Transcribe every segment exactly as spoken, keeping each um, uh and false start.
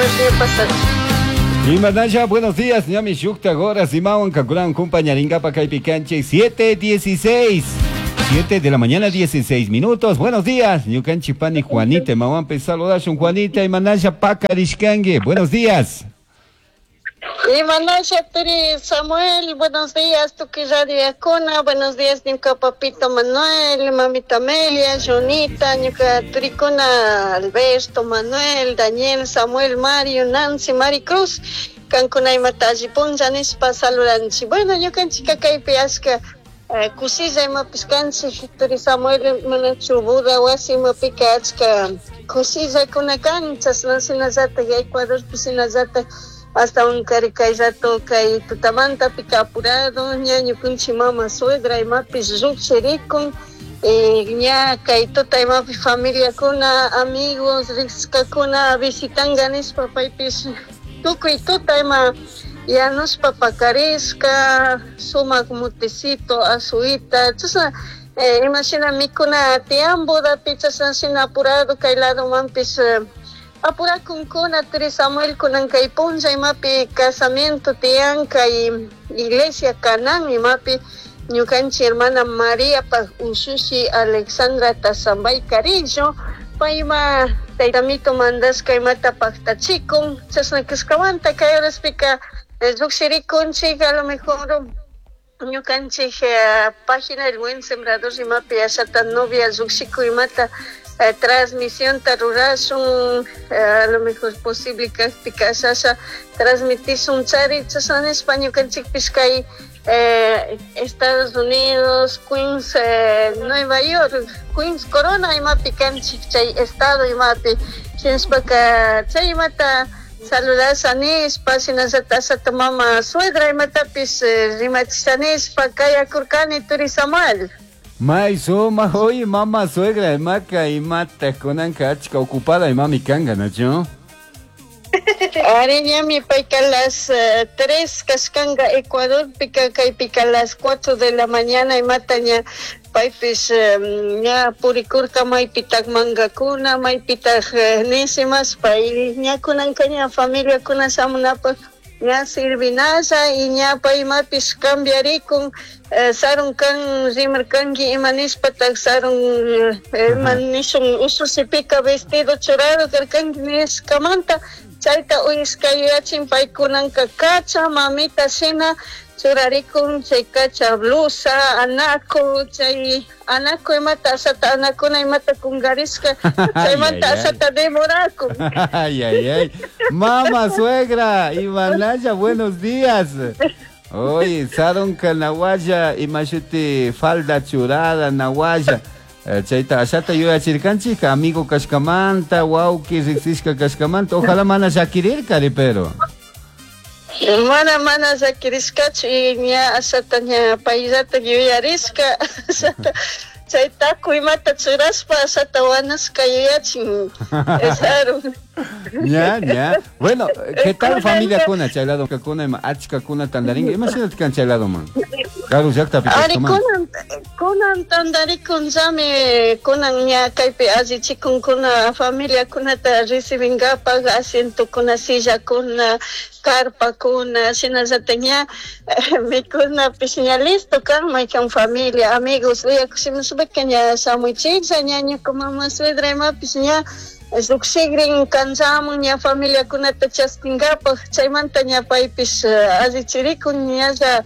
Dios ña pasachu. Imanasha, buenos días, ñami shukta horas imawan kankunawan kumpañaringapa kaypi kanchik siete dieciséis. siete de la mañana, dieciséis minutos. Buenos días. Ñukanchik pani Juanita, imawanpi saludashun. Juanita, imanasha pakarishkanki. Buenos días. Imanasha, turi Samuel, buenos días, tukuy radio Yacuna, buenos días, ñuka papito Manuel, mamita Amelia, Jonita, ñuka turikuna Alberto, Manuel, Daniel, Samuel, Mario, Nancy, Maricruz, kankuna imata alli punlla nishpa saludanchik. Bueno, ñukanchika kaypi ashka eh, kushilla imapish kanchik, turi Samuel, manachu boda wasi imapika achka kushillakuna kan, chashna shinallatak Ecuadorpi shinallatak hasta un kari kay rato kay tutamanta pika apurado ña ñukunchik mama suegra imapish llukshirikun eh, ña kay tuta imapi familiakuna, amigos, riqshkakuna visitanga nishpa paypish tukuy tuta ima yanushpa pakarishka sumak mutecito, azuita, chashna eh, imashina mikuna tiyan bodapi, chashna shina apurado kay ladomanpish eh, apurakunkuna, turi Samuel. Kunan kay punlla imapi casamiento tiyan kay iglesia Canán imapi ñukanchik hermana María paj ushushi Alexandra Tazambay Carillo, payma taytamito mandashka imata paktachikun. Chashna kashkamanta kay horaspika llukshirikunchik. A lo mejor ñukanchik eh, página del Buen Sembrador imapi ashata novia llukshikuy imata eh, transmisionta rurashun, eh, a lo mejor posible kajpika ashasha transmitishun chari. Chashna nishpa ñukanchikpish kay eh, Estados Unidos, Queens, eh, Nueva York, Queens Corona imapi kanchik chay estado imapi. Shinashpaka chay imata saludasha nishpa, shinallata ashata mama suegra imatapish eh, rimachisha nishpa kayakurkani, turi Samuel. May suma, oye, mama suegra, imaka imata kunanka achka ocupada imami kanga, nachu? Ari, ñami payka las eh, tres kashkanga Ecuadorpika, kaypika las cuatro de la mañana imata ña paypish eh, ña purikurka maypitak mangakuna, maypitak eh, nishimas pay ña kunanka ña familiakuna shamunapak ña sirvinalla y ña pay imapish cambiarikun. eh, sarun kan rimarkanki ima nishpatak sarun eh, ima nishun usushipika vestido churado karkanki nishkamanta chayta uyashka yuyachin paykunanka kacha mamita shina churarikun, chay kacha blusa anaco, chay anaco imata ashata anakuna imata kungarishka chaymanta Ay, ay, ay. Ashata demorakun. Ay, ay, ay. Mama suegra, Imanaya, buenos días. Oye, sarunka nawaya, imashuti falda churada nawaya. Eh, Chayta ashata yuyachirkanchik, amigo kashkamanta, wawki riksishka kashkamanta, ojalá mana llakirirkari, pero. Mana mana llakirishkachu y ña ashata ña payllata yuyarishka ashata chay taku imata churashpa ashata wanashka yuyachin sarun. Ya, ya. Bueno, ¿qué tal familia kuna? Chay lado kuna ima achka kuna tandaringa. Ima shinat kan chay lado man? Karu llaqtapi Ari, kashkaman. kunan kunan tandarikunllami, kunan ña kaypi allichikunkuna familiakunata recibingapak, asientokuna, sillakuna, carpakuna, shinallata ña eh, mikunapish ña listo kan. Maykan familia, amigos uyakushimushpaka ña shamuychiklla. Ña ñuka mama suegra imapish ña llukshikrin kanllamun ña familiakunata chaskingapak. Chaymanta ña paypish eh, allichirikun ñalla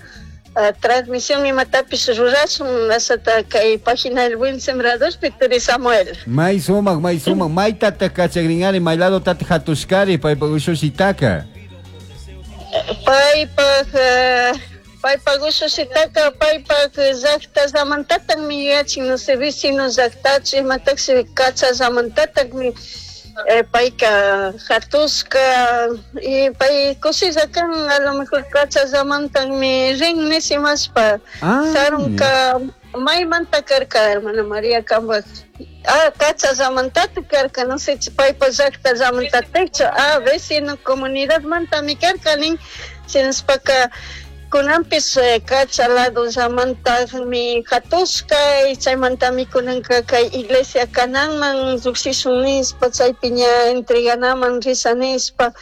uh, transmisión imatapish rurashun ashata kay página del Buen Sembrador turi Samuel. May sumak, may sumak. May tata kachagringari, may lado tata hatushkari, paypa ushushitaka. Paypaj uh, paypaj ushushitaka paypaj llaqtallamantataqmi yuyachin, no sé, vecino llaqtachu imatakshi kachallamantataqmi eh, payka hatushka y pay kushilla kan, a lo mejor kachallamantanmi rin nishimashpa. Ah, Sarunka maymanta karka, hermana María, kambaj? Ah, kachallamantatik karka, no sé paypa llaqtallamantatikchu. Ah, vecino comunidad mantami karka nin. Shinashpaka Kunanpis Cacha lado llamantaqmi hatushka chaymantami kunanka kay iglesia kananman lluqshishun nispa chaypi ña entreganaman risha nispa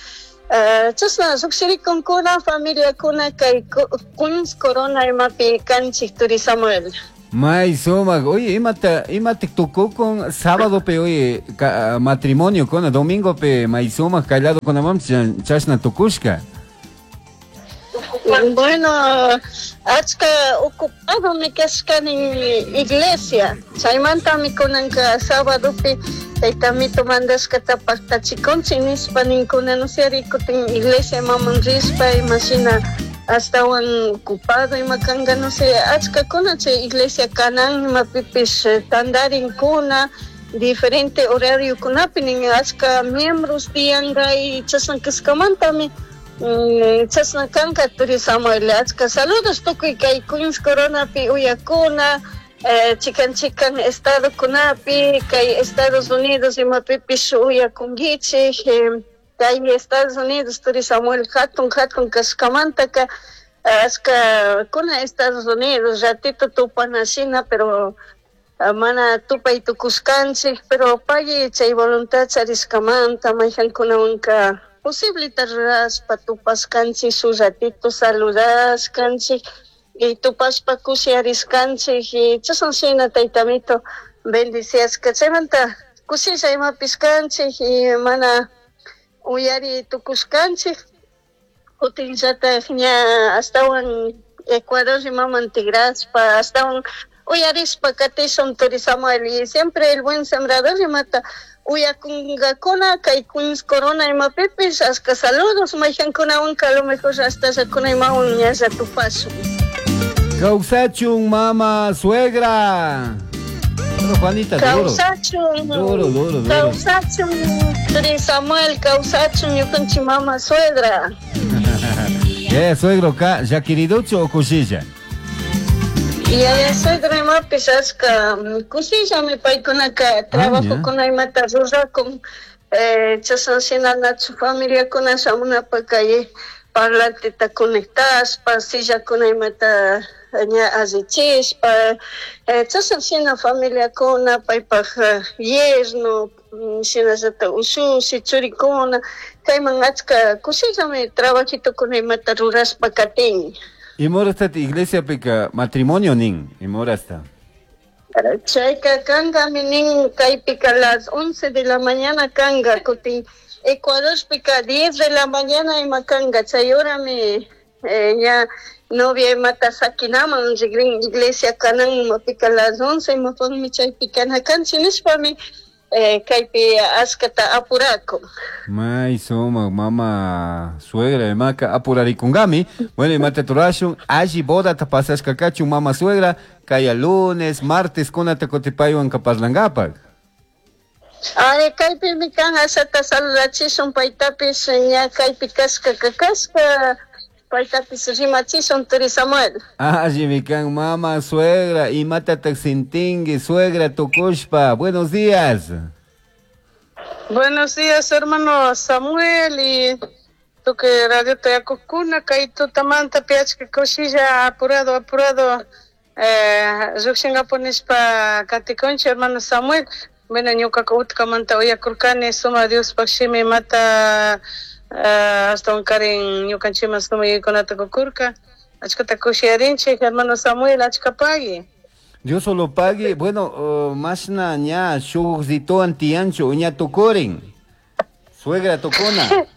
chashna lluqshirikunkuna familiakuna kay Queens Corona imapi kanchik turi Samuel. May sumaq, oye, imata imata tukukun sábado pe oye matrimonio kuna domingo pe may sumaq kay lado kunaman chashna tukushka. Bueno, achka ocupado mi kashkani iglesia. Chaymantami kunanka sábadopi taytamito mandashkata paqtachikunchik nispa ninkuna no sé rikutin iglesia imaman rispa imashina astawan ocupado ima kanka no sé achkakuna chay iglesia kanan imapipis tantarinkuna diferente horariokunapi nin achka miembros tiyanka y chashna kashkamantami chashna kanka turi Samuel. Achka saludos tukuy kay Queens Coronapi uyakuna chikan chikan estadokunapi kay Estados Unidos imapipis uyakunkichik kay Estados Unidos turi Samuel hatun hatun kashkamantaka achka kuna Estados Unidos ratito tupanashina pero mana tupay tukushkanchik pero pagui chay voluntad charishkamanta mayhankunawanka posiblita rurashpa tupashkanchik shuk ratito saludashkanchik y tupashpa kushiyarishkanchik y chashna shina taytamito bendiciashka chaymanta kushilla imapis kanchik y mana uyari tukushkanchik kutinllatak ña astawan Ecuador imaman tigrashpa astawan uyarishpa katishun turi Samuel y siempre el buen sembrador imata uyakunkakuna kay Queens Corona imapipis achka saludos mayhankunawanka a lo mejor hasta llakuna imawan ñalla tupashun. Kawsachun mama suegra. Bueno, Juanita, duro. Kawsachun. Duro, duro, duro. Kawsachun turi Samuel, kawsachun ñukanchik mama suegra. Yeah, suegro ka llakiriduchu o kushilla? Yaya suegra imapis achka kushillami paykunaka trabajokuna imata rurakun chashna shina nachu familiakuna shamunapa kay parlanteta conectashpa sillakuna imata ña allichishpa chashna shina familiakuna paypaj yerno shinallata ushushi churikuna kayman achka kushillami trabajitokuna imata rurashpa katin. Imorasta iglesia pika matrimonio nin, imorasta. Chayka kankami nin kaypika las once de la mañana kanga kutin Ecuadorpika diez de la mañana ima kanga chay horami ña novia imata sakinaman rigrin iglesia kanan imapika las once imapakmi chaypi kana kanchik nishpami kaypi achkata apurakun. May sumaq mama suegra imaka apurarikunkami. Bueno, imata turashun alli bodata pasashka kachun mama suegra kaya lunes, martes kunata kutipaywanka parlankapak. Ay, kaypimi kan ashata saludachishun paytapis ña kaypi kashka kakashka paytapis rimachishun turi Samuel. Allimi kan mama suegra imatataq sintinki suegra tukushpa. Buenos días. Buenos días hermano Samuel y tukuy radio tayakukuna kay tutamanta piachka kushilla apurado apurado eh llukshinkapu nishpa katikunchik hermano Samuel. Bueno, ñuqaka utqamanta uyakurkani suma Diospaq shimi imata ashtawan karin ñukanchikman suma yuyaykunata kukurka achkata kushiyarinchik hermano Samuel achka pagui. Dios solo pague. Bueno, uh, mashna ña shuk rituan tiyanchu ña tukurin. Suegra tukuna.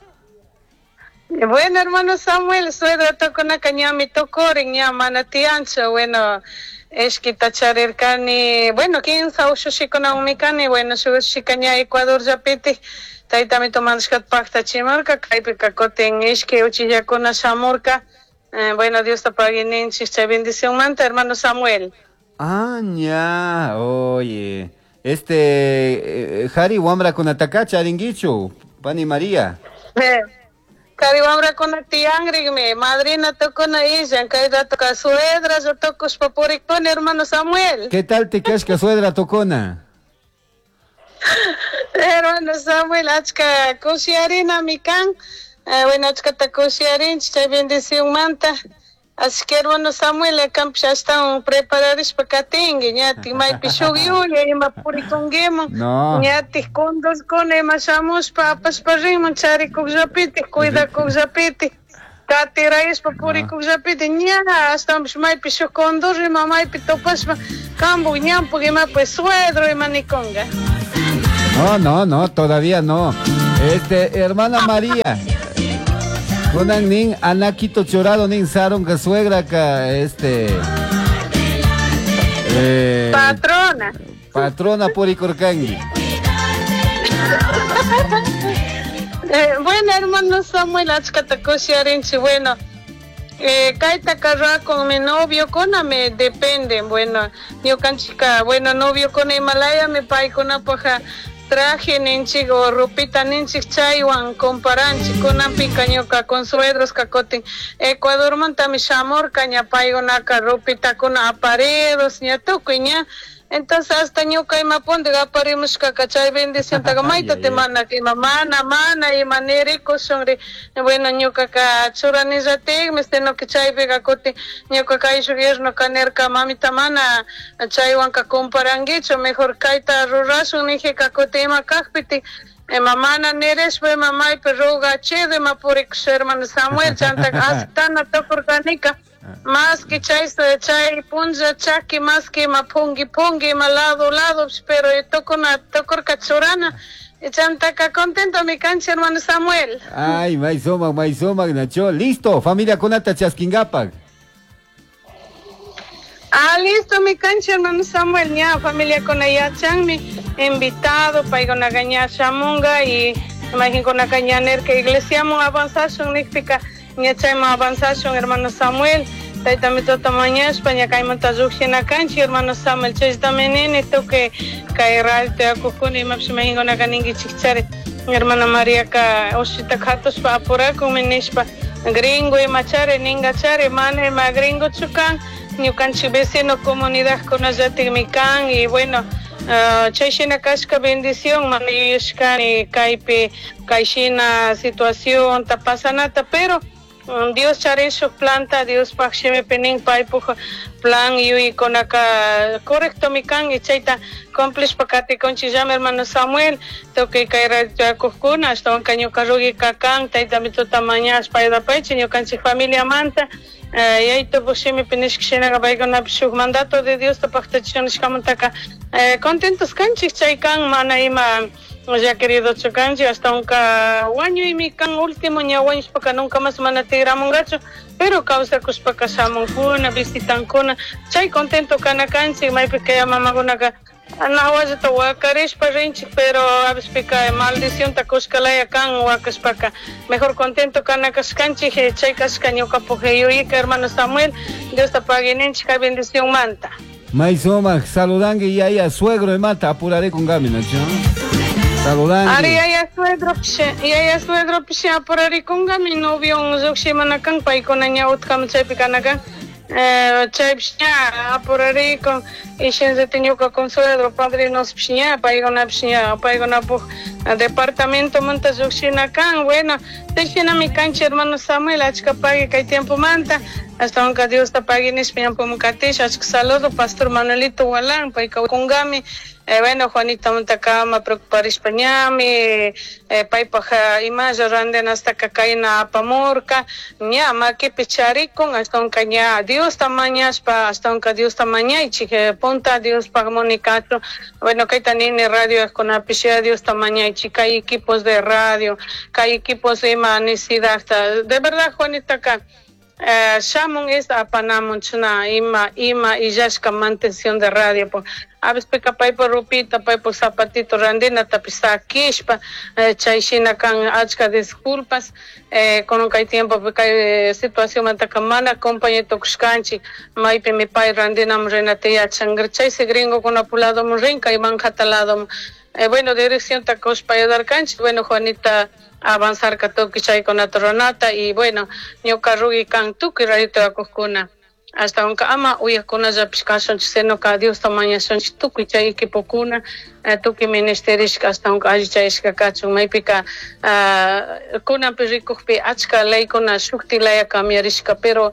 Bueno, hermano Samuel, suegra tukunaka ñami tukurin ña mana tiyanchu. Bueno, ishkita charirkani, bueno, kinsa ushushikunawanmi kani, bueno, shuk ushushika ña Ecuador llapitik taytamito mandashkata paqtachimarka, kaypika kutin ishki uchillakuna shamurka. Eh, bueno, Dios te pague ninchik chay bendicionmanta, hermano Samuel. Ah, ña, oye, este, eh, Jari wamrakunataka charinkichu, pani María. Eh, Kari wamrakuna tiyanrikmi, madrina tukuna illan, kay ratoka suegra yo tukushpa purikuni, hermano Samuel. ¿Qué tal te kashka suegra tukuna? Hermano Samuel, achka kushiyarinami kan, eh, bueno, achkata kushiyarinchik chay bendicionmanta. Así que hermano Samuel, kampish ashtawan prepararishpa katinki, ñatik maypi shuk yuya ima purikunkiman, No. ñatik kundurkuna ima shamushpa apashpa rinman charikukllapitik, cuidakukllapitik, katirayashpa purikukllapitik, ña ashtawanpish maypi shuk kundur ima maypi tupashpa kampuk ñampuk imapi suegro ima nikunka. No, no, no, todavía no. Este, hermana María. Kunan nin anaquito chorado nin sarunka suegra ka este eh, Patrona. Patrona purikurkanki. Eh, bueno, hermano Samuel, achkata kushiyarinchik, bueno, eh, kaytaka rurakun mi novio kuna me depende, bueno, ñukanchikka, bueno, novio kuna imalayami paykunapaja traje ninchik o ropita ninchik chaywan comparanchik, kunanpika ñuka con suegros kutin Ecuadormantami shamurka ña paykunaka ropitakuna apareros ña tukuy ña. Entonces hasta ñuka ima punta aparimushkaka chay bendiciontaka mayta mana ima mana mana ima nirikushunri, bueno, ñukaka churanillatikmi, sino que chaypika kutin ñuka kayshuk yernoka nirka mamita mana chaywanka comparankichu, mejor kayta rurashun nijika kutin ima kakpiti ima mana nirishpa ima maypi rugachido ima purikush hermano Samuel, chantaka aceptana tukurkanika. Más que chay, chay punlla chaki, más que ima pungi pungi, ima lado lado, pero tocona tocorca churana, y chantaka contento mi cancha hermano Samuel. Ay, may sumak, may sumak, Nacho. Listo, familia kunata chaskingapak. Ah, listo mi cancha hermano Samuel, ña familia con yachanmi invitado, paykunaqa ña shamunga y imaginkunaka ña nirka iglesiaman avanzashun nikpika ña chayman avanzashun hermano Samuel, taytami tuta mañashpa ña kaymanta lluqshina kanchik hermano Samuel, chaytami nini tukuy kay radio tiyakukuna imapish imaginkunaka ninkichik chari hermana Mariaka ushita katushpa apurakunmi nishpa gringo ima chari ninga chari mana ima gringochu kan ñukanchik vecino comunidadkunallatikmi kan y bueno, Uh, chay shina kashka bendición mana yuyashkani kaypi kay shina situación ta pasanata, pero um, Dios charin shuk planta, Diospaj shimipi nin paypuk plan yuyaykunaka correctomi kan y chayta cumplishpa katikunchikllami hermano Samuel, tukuy kay radio tiyakukuna ashtawanka ñuka rugika kan taytami tuta mañashpa ayudapaychik ñukanchik familiamanta, yaytupak shimipi nishka shinaka paykunapish shuk mandato de Diosta paktachishun nishkamantaka eh, contentos kanchik chay kan mana ima ya querido chukanchik ashtawanka wañuymi kan último ña wañushpaka nunca más mana tigramunkachu, pero kawsakushpaka shamunkuna visitankuna chay contento kana kanchik maypi kay mamakunaka nawallata wakarishpa rinchik, pero a veces maldicionta kushkalaya kan wakashpaka mejor contento kana kashkanchik chay kashka ñukapak yuyayka hermano Samuel, Diosta paguininchik kay bendición manta. May sumak, saludanki yaya suegro imata apurare kunkami, Nacho. Saludanki. Ari yaya suegro pish, yaya suegro pish apurarikunkami novio lluqshimana kan paykuna ña utkami chaypi kana kan. Eh, chaypish ña apurarikun y shinllata ñuka consuegro padrinospish ña paykunapish ña paykunapuk departamentomanta lluqshina kan, bueno, chashnami kanchik hermano Samuel, achka pagui kay tiempomanta, ashtawanka Diosta pagui nishpa ñampuman katisha, achka saludo pastor Manuelito Walán, payka kunkami, eh, bueno, Juanita mantakama preocuparishpa ñami, eh, paypaj imalla randenastaka kayna apamurka, ña makipi charikun, ashtawanka ña Diosta mañashpa, ashtawanka Diosta mañaychik, eh, punta Diospaj munikachu, bueno, kayta nini radio kunapish Diosta mañaychik, kay equipos de radio, kay equipos ima necesidadta, de verdad Juanitaka, eh, shamun es apanamun chuna ima ima illashka mantención de radio po a veces pika paypa ropita paypa zapatito randina tapis sakishpa, eh, chay shina kan achka disculpas, eh, kunan kay tiempo kay situación mantaka mana compañía tukushkanchik maypimi pay randinamun rinata yachanka chaysi gringokunapa ladomun rin kay Manhattan ladomun, eh, bueno, dirección ta kushpa ayudarkanchik, bueno, Juanita avanzarka tukuy chaykunata ruranata y bueno, ñuka rugi kan tukuy radio tiyakukuna Hasta aunque ama uyakunallapish kashunchik sino Diosta mañashunchik tukuy chay equipokuna tukuy ministerishka hasta aunque allichayashka kachun maypika kunanpi rikukpi achka leykuna shukti laya cambiarishka pero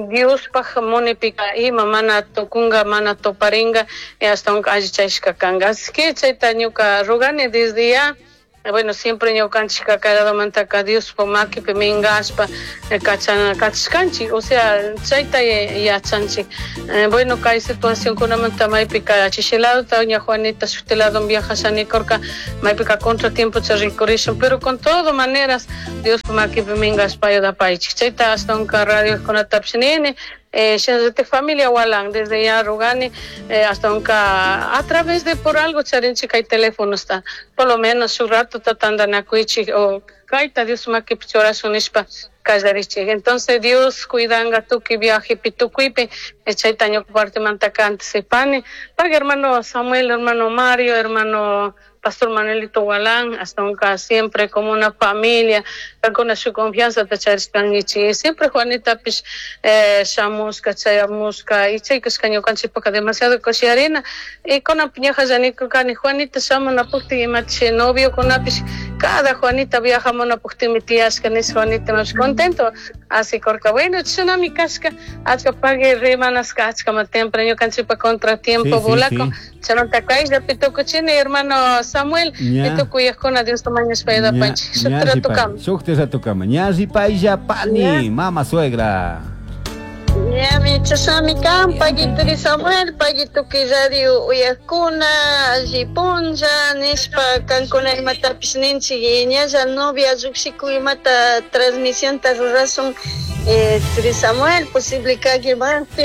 Diospaj munipika ima mana tukunga mana tuparinga y hasta aunque allichayashka kanka así que chayta ñuka rogani desde ya. Bueno, siempre ñukanchik kakaradamantaka Diospaj makipi minkashpa kachana kachishkanchik, o sea, chayta yachanchik. Bueno, kay situacionkunamanta maypika chishiladota ña Juanita shukti lado viajashanikurka maypika contratiempo rikurishun, pero con todo maneras Diospaj makipi minkashpa ayudapaychik. Chayta ashtawanka radiokunatapish nini. Eh, familia Walan, desde ya rogani, eh, hasta aunque a través de por algo charinchi hay teléfono está, por lo menos un rato tatandanakuichi o kaita Dios makipi churashun nishpa kallarichik. Entonces Dios cuidanga tukuy viaje pitukuipi, chayta ñuka partimantaka anticipani, para hermano Samuel, hermano Mario, hermano Pastor Manuelito Walán, hasta nunca siempre como una familia, con su confianza te charishkangichik. Siempre Juanita pish eh, shamushka, chayamushka, y chaykashka ñukanchikpaka demasiado kushiarina. Y con piñaja llanikukani Juanita shamunapukti imachi novio kunapish, cada Juanita viajamunapukti tiyashka nish Juanita más contento. Así korka, bueno, chunami kashka, achka pague rimanaska, achka ma temprano ñukanchikpa contratiempo Sí, sí, volaco. sí. Chananta kayllapi tukuchini, hermano Samuel, Ña. tukuyaqkuna Dios mañashpa ayudapanchik. Shuk ratukama. Shuk ratukama. Ña ripaylla pani, mama suegra. Ñami chasami kan, pagituri Samuel, pagituki radio uyakuna, alli punlla, nishpa kankuna imatapish ninchik, ñalla novia llukshiku imata transmisión ta rurasun, eh, turi Samuel, posible kaki manpi,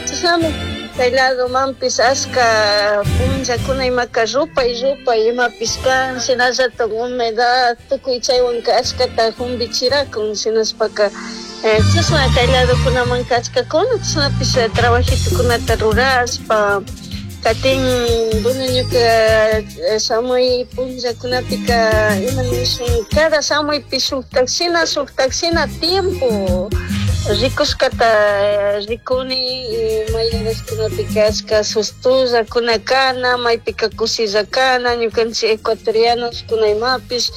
chasami kay lado manpis ashka punllakuna imaka rupay rupay imapis kan, shinallatak humedad, tukuy chaywanka ashkata humbichirakun, shinashpaka eh, chashna kay ladokunaman kachkakuna, chashnapish trabajitukunata rurashpa katin, bueno, ñuka shamuy punllakunapika ima nishun, cada shamuypi shuktak shina shuktak shina tiempo rikushkata rikuni, mayarashkunapika ashka sustullakuna kana, maypika kushilla kana, ñukanchik ecuatorianos kuna imapish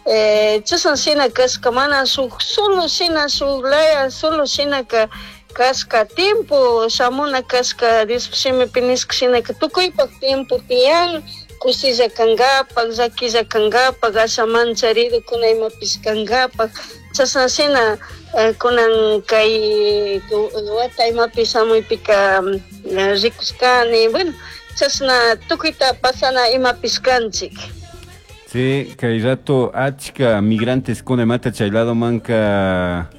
eh, chashna shina kashka, mana shuk solo shina shuk laya solo shinaka kashka tiempo shamuna kashka Dios shimipi nishka shinaka tukuypak tiempo tiyan, kushilla kankapak, llakilla kankapak, asha mancharidukuna imapish kankapak, chashna shina eh, kunan kay wata imapish shamuypika rikushkani, bueno, chashna tukuyta pasana imapish kanchik. Sí, kay rato achka migrantes kuna imata chay lado manka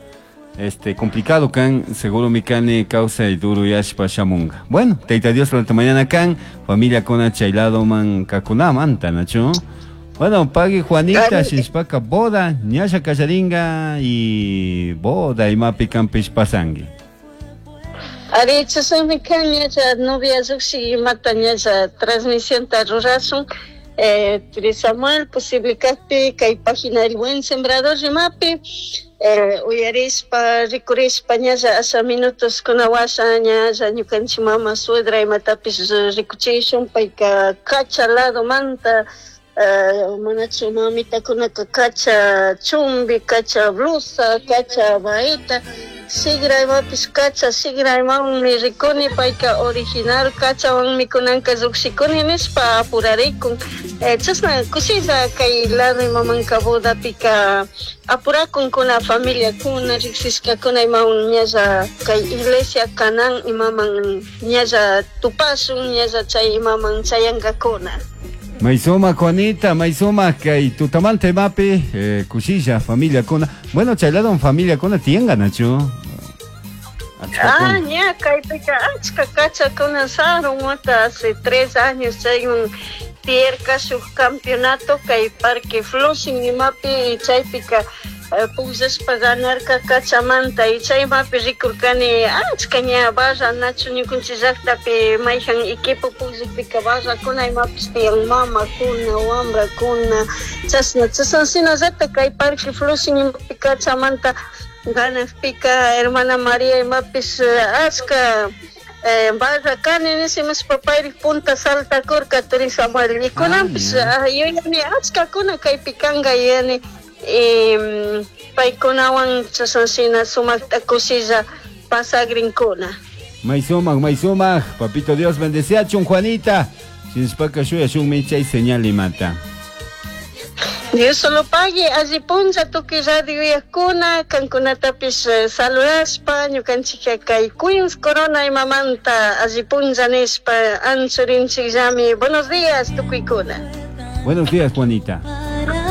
este complicado kan, seguro mikani causa y duro yashpa shamunga. Bueno, tayta Dios la mañana kan, familia kuna chay lado man kakuna manta, nacho. Bueno, pague Juanita, shishpaka boda, ñasha kallaringa y boda imapi kampish pasangui. Ari, chasami kan ñasha novia llukshin imata ñasha transmisión ta rurasun. Eh, turi Samuel, posible kajpi kay página El Buen Sembrador rimapi, eh, uyarishpa, rikurishpa ñalla asha minutos kunawasha ñalla ñukanchik mama suegra imatapish rikuchishun, payka kacha lado manta, eh, manachu mamitakunaka kacha chumbi, kacha blusa, kacha baeta, sigra imapish kacha sigra imawanmi rikuni, payka original kachawanmi kunanka llukshikuni nishpa apurarikun. Eh, chashna kushilla kay lado imamanka bodapika apurakunkuna familiakuna riksishkakuna imawan ñalla kay iglesia kanan imaman ñalla tupashun, ñalla chay imaman chayankakuna. Maizoma Juanita, maizoma kay tutamanta imapi, eh, kushilla familia kuna. Bueno, chay lado familia kuna tienga, Nacho. Ah, ña, kaypika achka kachakuna sarun wata hace tres años chaywan tierka shuk campeonato kay Parque Flushing imapi chaypika pukllashpa ganarka kachamanta y chaymapi rikurkani achka ña barra nachu ñukanchik llaktapi mayjan equipo pukllakpika barrakuna imapish tiyan mamakuna wambrakuna chashna chashna shinallata kay Parque Flushing imapi kachamanta Ganajpika hermana María imapish achka eh, barra kani nishimashpa payrik punta saltakurka turi Samuel y kunanpish ah, yuyani achkakuna kaypi kanka yuyani y paykunawan chashna sumakta kushilla pasagrinkuna. May sumak, may sumak. Papito Dios bendeciachun, Juanita. Shinashpaka shuyashunmi chay señal imata. Dios solo pague, alli punlla tukuy radio uyakuna, kankunatapish eh, saludashpa, ñukanchik kay Queens Corona imamanta alli punlla nishpa anchurinchikllami. Buenos días tukuykuna. Buenos días, Juanita.